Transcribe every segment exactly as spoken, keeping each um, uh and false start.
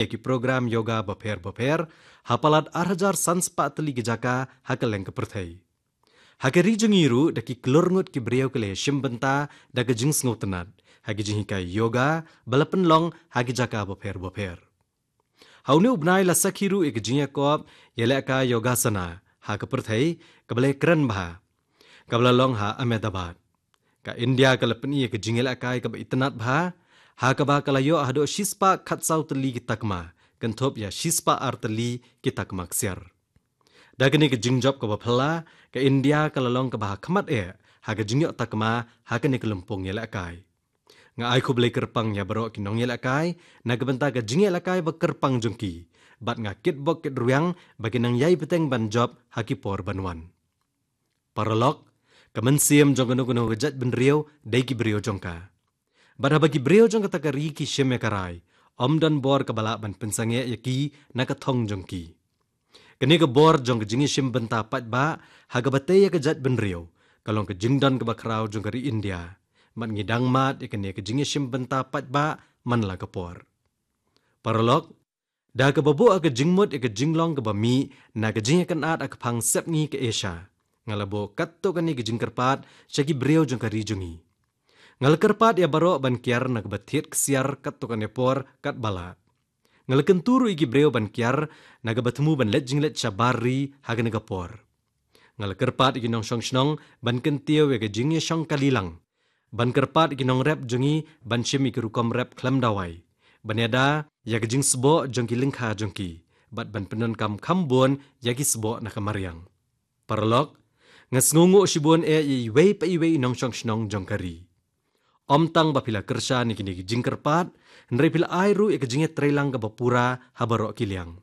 ïa ki program yoga bapher bapher ha palat ar hajar san spah tylli ki jaka ha kylleng ka pyrthei. Ha ka ri jong ngi ruh da ki klur ngut ki briew ki la ïashim bynta da ka jingsngewtynnat ha ki jinghikai yoga ba la pynlong ha ki jaka bapher bapher. Ha une u bnai la sakhi ruh ïa ka jingïakop ïalehkai Yogasana ha ka pyrthei kaba la kren bha, kaba la long ha Ahmedabad. Ka India ka la pyni ïa ka jingïalehkai kaba itynnat bha, ha kaba ka la ïoh haduh shispah khatsaw tylli ki takma, kynthup ïa shispah ar tylli ki takma ksiar. Da kane ka jingjop kaba phylla, ka India ka la long kaba ha khmat eh ha ka jingïoh takma ha kane ka lympung ïalehkai. Nga ai khublei kyrpang ïa baroh ki nongïalehkai na ka bynta ka jingïalehkai ba kyrpang jong ki, bad nga kitbok kitrwiang ba kin nang ïai bteng ban jop ha ki por ban wan. Paralok, ka mynsiem jong kano kano ka jaitbynriew dei ki briew jong ka. Bad haba ki briew jong kata ka ri ki shim ïa ka rai, ym don bor kaba lah ban pynsangeh ïa ki na ka thong jong ki. Kane ka bor jong ka jingïashim bynta paidbah ha kaba tei ïa ka jaitbynriew ka long ka jingdon kaba khraw jong ka ri India, bad ngi dang mad ïa kane ka jingïashim bynta paidbah man la ka por. Paralok, da kaba buh ha ka jingmut ïa ka jinglong kaba mih na ka jingïakynad ha ka phang sepngi ka Asia, nga la buh katto katne ka jingkyrpad sha ki briew jong ka ri jong ngi. Nga la kyrpad ïa baroh ban kiar na kaba thied ksiar katto katne por katba lah. Nga la kyntu ruh ïa ki briew ban kiar na kaba thmu ban leit jingleit shabar ri ha kane ka por. Nga la kyrpad ïa ki nongshong shnong ban kyntiew ïa ka jingïashong kali lang, ban kyrpad ïa ki nongrep jong ngi ban shim ïa ki rukom rep khlem dawai, ban ïada ïa ka jingsboh jong ki lyngkha jong ki, bad ban pyndonkam kham bun ïa ki sboh na ka mariang. Paralok, nga sngewnguh shibun eh ïa iwei pa iwei i nongshong shnong jong ka ri. Ym tang ba phi la kyrshan ïa kine ki jingkyrpad, hynrei phi la ai ruh ïa ka jingïatreilang kaba pura ha baroh ki liang.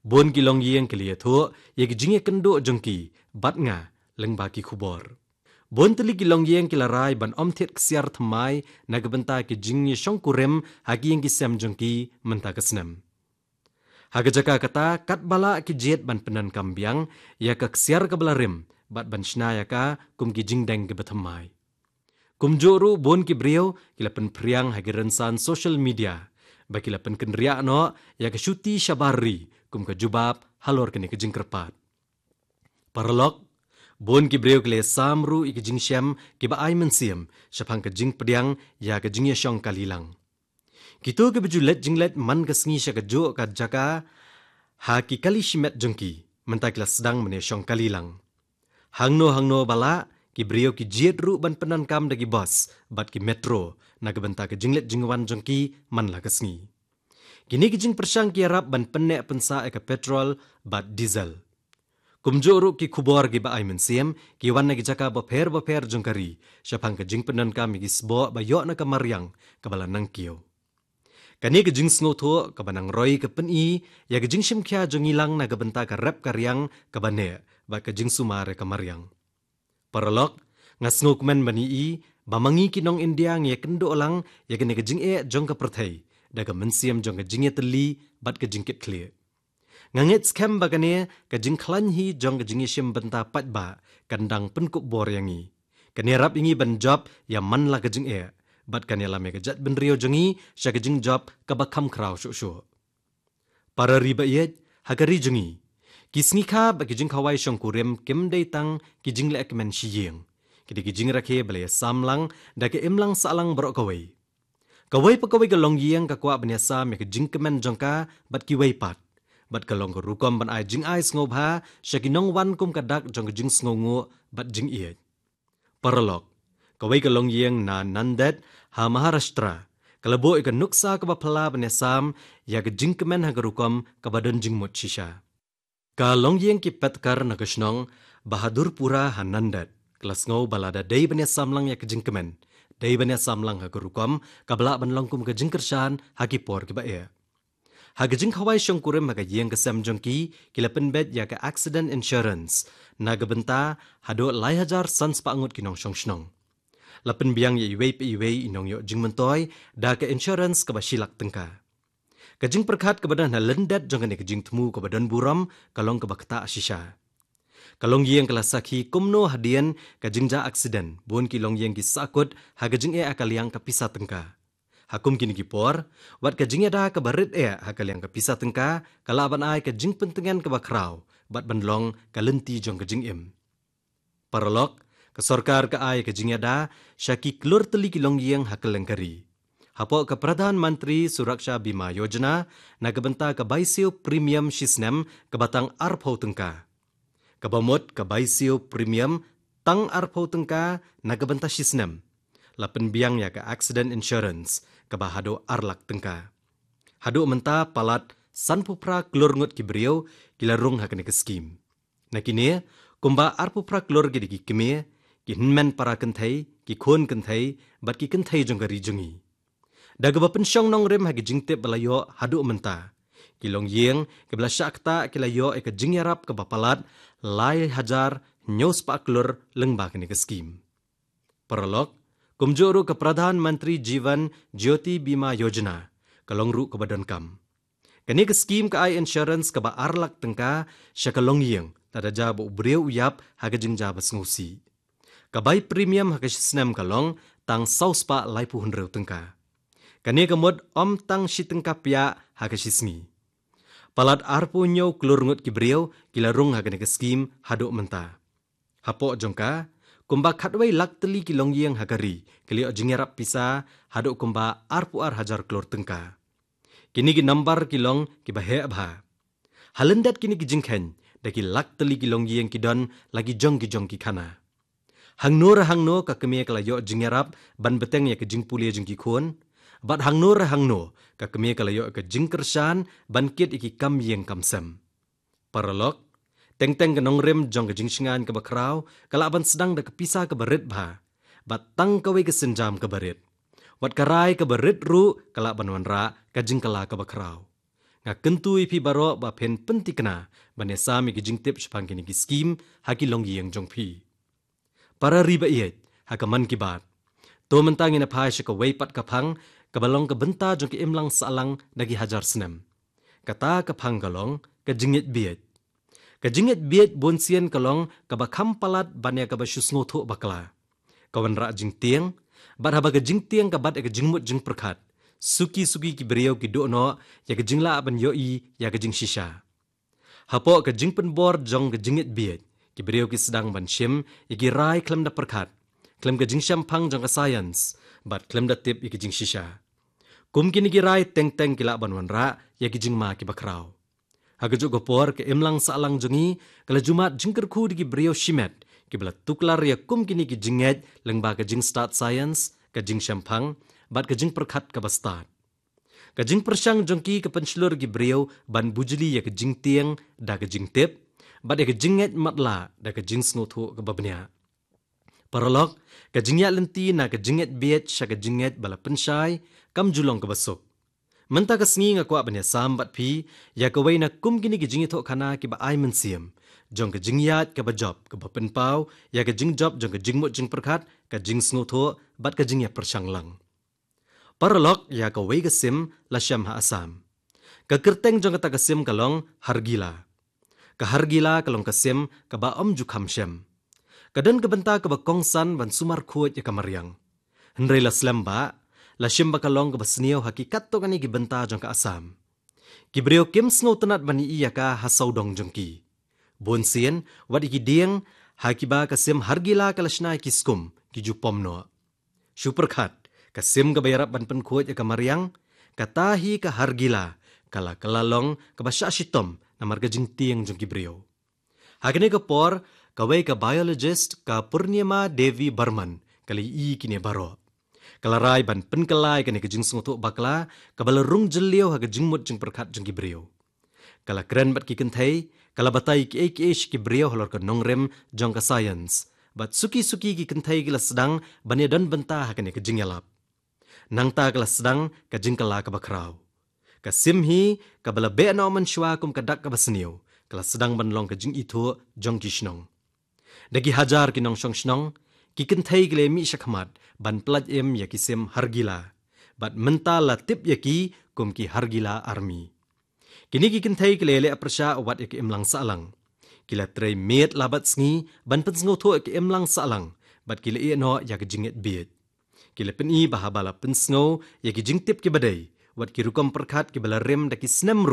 Bun ki longïing ki la ïathuh ïa ka jingïakynduh jong ki bad nga lyngba ki khubor. Bun tylli ki longïing ki la rai ban ym thied ksiar thymmai na ka bynta ki jingïashongkurim ha ki ïing ki sem jong ki mynta ka snem. Ha ka jaka kata, katba lah ki jied ban pyndonkam biang ïa ka ksiar kaba la rim bad ban shna ïa ka kum ki jingdeng kiba thymmai. Kumjuh ruh bun ki briew ki la pynphriang ha ki rynsan social media ba ki la pynkynriah noh ïa ka shuti shabar ri kum ka jubab halor kane ka jingkyrpad. Paralok, bun ki briew ki la ïasam ruh ïa ki jingshem kiba ai mynsiem shaphang ka jingpdiang ïa ka jingïashong kali lang. Kito kiba ju leit jingleit man ka sngi sha kajuh ka jaka ha ki kali shimet jong ki, mynta ki la sdang ban ïashong kali lang. Hangno hangno ba lah, ki briew ki jied ruh ban pyndonkam da ki bus bad ki metro na ka bynta ka jingleit jingwan jong ki man la ka sngi. Kine ki jingpyrshang ki ïarap ban pynneh pynsah ïa ka petrol bad diesel. Kumjuh ruh ki khubor kiba ai mynsiem ki wan na ki jaka bapher bapher jong ka ri shaphang ka jingpyndonkam ïa ki sboh ba ïoh na ka mariang kaba la nangkiew. Kane ka jingsngewthuh kaba nang roi ka pyni ïa ka jingshim khia jong ngi lang na ka bynta ka rep ka riang kaba neh bad ka jingsumar ïa ka mariang. Paralok, nga sngewkmen ban ïohi ba ma ngi ki nong India ngi ïakynduh lang ïa kane ka jingeh jong ka pyrthei da ka mynsiem jong ka jingïatylli bad ka jingkitkhlieh. Nga ngeit skhem ba kane ka jingkhlaiñ hi jong ka jingïashim bynta paidbah kan dang pynkup bor ïa ngi. Kan ïarap ïa ngi ban jop ïa man la ka jingeh bad kan ïalam ïa ka jaitbynriew jong ngi sha ka jingjop kaba kham khraw shuh shuh. Para ri ba ïeit, ha ka ri jong ngi, ki sngi kha bad ki jingkhawai shongkurim kim dei tang ki jingleh kmen shi ïing. Ki dei ki jingrakhe ba la ïasam lang da ka imlang sahlang baroh kawei. Kawei pa kawei ka longïing ka kwah ban ïasam ïa ka jingkmen jong ka bad kiwei pat, bad ka long ka rukom ban ai jingai sngewbha sha ki nongwan kum ka dak jong ka jingsngewnguh bad jingïeit. Paralok, kawei ka longïing na Nanded ha Maharashtra ka la buh ïa ka nuksa kaba phylla ban ïasam ïa ka jingkmen ha ka rukom kaba don jingmut shisha. Ka longïing ki Petkar na ka shnong Bahadurpura ha Nanded ka la sngew ba lada dei ban ïasam lang ïa ka jingkmen, dei ban ïasam lang ha ka rukom kaba lah ban long kum ka jingkyrshan ha ki por kiba eh. Ha ka jingkhawai shongkurim ha ka ïing ka sem jong ki, ki la pynbeit ïa ka accident insurance na ka bynta haduh lai hajar san spah ngut ki nongshong shnong. La pynbiang ïa iwei pa iwei i nongïoh jingmyntoi da ka insurance kaba shi lak tyngka. Ka jingpyrkhat kaba don ha lyndet jong kane ka jingthmu kaba don burom ka long kaba ktah shisha. Ka longïing ka la sakhi kumno hadien ka jingjia accident bun ki longïing ki sahkut ha ka jingeh ha ka liang ka pisa tyngka. Ha kum kine ki por, wat ka jingïada kaba rit eh ha ka liang ka pisa tyngka, ka lah ban ai ka jingpyntngen kaba khraw, bad ban long ka lynti jong ka jingim. Paralok, ka sorkar ka ai ka jingïada sha ki klur tylli ki longïing ha kylleng ka ri. Hapoh ka Pradhan Mantri Suraksha Bima Yojana, na ka bynta ka bai siew premium shisnem kaba tang arphew tyngka. Kaba mut ka bai siew premium tang arphew tyngka na ka bynta shisnem. La pynbiang ïa ka accident insurance kaba haduh ar lak tyngka. Haduh mynta palat sanphew phra klur ngut ki briew ki la rung ha kane ka skim. Na kine, kumba arphew phra klur ki dei ki kmie, ki hynmen para kynthei, ki khun kynthei, bad ki kynthei jong ka ri jong ngi. Da kaba pynshong nongrim ha ki jingtip ba la ïoh haduh mynta, ki longïing kiba la shah ktah ki la ïoh ïa ka jingïarap kaba palat lai hajar hynñiew spah klur lyngba kane ka skim. Paralok, kumjuh ruh ka Pradhan Mantri Jeevan Jyoti Bima Yojana ka long ruh kaba donkam. Kane ka skim ka ai insurance kaba ar lak tyngka sha ka longïing, lada jia ba u briew u ïap ha ka jingjia ba sngewsih. Ka bai premium ha ka shisnem ka long tang saw spah laiphew hynriew tyngka. Kane ka mut ym tang shi tyngka pia ha ka shisngi. Palat arphew hynñiew klur ngut ki briew ki la rung ha kane ka skim haduh mynta. Hapoh jong ka, kumba khatwei lak tylli ki longïing ha ka ri ki la ïoh jingïarap pisa haduh kumba arphew ar hajar klur tyngka. Kine ki nambar ki long kiba heh bha. Ha lyndet kine ki jingkheiñ, da ki lak tylli ki longïing ki don la ki jong ki jong ki khana. Hangno re hangno ka kmie ka la ïoh jingïarap ban bteng ïa ka jingpule jong ki khun, bad hangno re hangno ka kmie ka la ïoh ka jingkyrshan ban kit ïa ki kam ïing kam sem. Paralok, teng teng ka nongrim jong ka jingshngaiñ kaba khraw ka lah ban sdang da ka pisa kaba rit bha, bad tang kawei ka sienjam kaba rit. Wat ka rai kaba rit ruh ka lah ban wanrah ka jingkylla kaba khraw. Nga kyntu ïa phi baroh ba phin pynthikna ban ïasam ïa ki jingtip shaphang kine ki skim ha ki longïing jong phi. Para ri ba ïeit, ha ka Mann Ki Baat, to mynta ngin ïa phai sha kawei pat ka phang kaba long ka bynta jong ka imlang sahlang da ki hajar snem. Kata ka phang ka long ka jingngeit bieit. Ka jingngeit bieit bunsien ka long kaba kham palat ban ïa kaba shu sngewthuh bakla. Ka wanrah jingtieng, bad haba ka jingtieng ka bat ïa ka jingmut jingpyrkhat, suki suki ki briew ki duh noh ïa ka jinglah ban ïohi ïa ka jingshisha. Hapoh ka jingpynbor jong ka jingngeit bieit, ki briew ki sdang ban shim ïa ki rai khlem da pyrkhat, khlem ka jingshemphang jong ka science, bad khlem da tip ïa ka jingshisha. Kum kine ki rai teng teng ki lah ban wanrah ïa ki jingma kiba khraw. Ha kajuh ka por ka imlang sahlang jong ngi ka la ju mad jingkyrkhu da ki briew shimet kiba la tuklar ïa kum kine ki jingngeit lyngba ka jingstad science, ka jingshemphang, bad ka jingpyrkhat kaba stad. Ka jingpyrshang jong ki ka pynshlur ïa ki briew ban bujli ïa ka jingtieng da ka jingtip, bad ïa ka jingngeit matlah da ka jingsngewthuh kaba bniah. Paralok, ka jingïaid lynti na ka jingngeit bieit sha ka jingngeit ba la pynshai kam ju long kaba suk. Mynta ka sngi nga kwah ban ïasam bad phi ïa kawei na kum kine ki jingïathuhkhana kiba ai mynsiem jong ka jingïaid kaba jop kaba pynpaw ïa ka jingjop jong ka jingmut jingpyrkhat, ka jingsngewthuh, bad ka jingïapyrshang lang. Paralok, ïa kawei ka sim la shem ha Assam. Ka kyrteng jong kata ka sim ka long Hargila. Ka Hargila ka long ka sim kaba ym ju kham shem. Ka don ka bynta kaba kongsan ban sumar khuid ïa ka mariang. Hynrei la slem ba la shim ba ka long kaba sniew ha ki katto katne ki bynta jong ka Assam. Ki briew kim sngewtynnat ban ïohi ïa ka ha sawdong jong ki. Bunsien, wat ïa ki dieng ha kiba ka sim Hargila ka la shna ïa ki skum, ki ju pom noh. Shu pyrkhat, ka sim kaba ïarap ban pynkhuid ïa ka mariang, kata hi ka Hargila, ka la kylla long kaba shah shitom namar ka jingtieng jong ki briew. Ha kane ka por, kawei ka biologist, ka Purnima Devi Barman, ka la ïohi ïa kine baroh. Ka la rai ban pynkylla ïa kane ka jingsngewthuh bakla kaba la rung jylliew ha ka jingmut jingpyrkhat jong ki briew. Ka la kren bad ki kynthei, ka la batai kiei kiei sha ki briew halor ka nongrim jong ka science. Bad suki suki ki kynthei ki la sdang ban ïadon bynta ha kane ka jingïalap. Nangta ka la sdang ka jingkylla kaba khraw. Ka sim hi, kaba la beh noh mynshuwa kum ka dak kaba sniew, ka la sdang ban long ka jingithuh jong ki shnong. Da ki hajar ki nongshong shnong, ki kynthei ki la ïa mih shakhmat ban pyllait im ïa ki sim Hargila. Bad mynta la tip ïa ki kum ki Hargila Army. Kine ki kynthei ki la ïaleh pyrshah wat ïa ka imlang sahlang. Ki la trei miet la bad sngi ban pynsngewthuh ïa ka imlang sahlang, bad ki la ïehnoh ïa ka jingngeit bieit. Ki la pyni ba haba la pynsngew ïa ki jingtip kiba dei, wat ki rukom pyrkhat kiba la rim da ki snem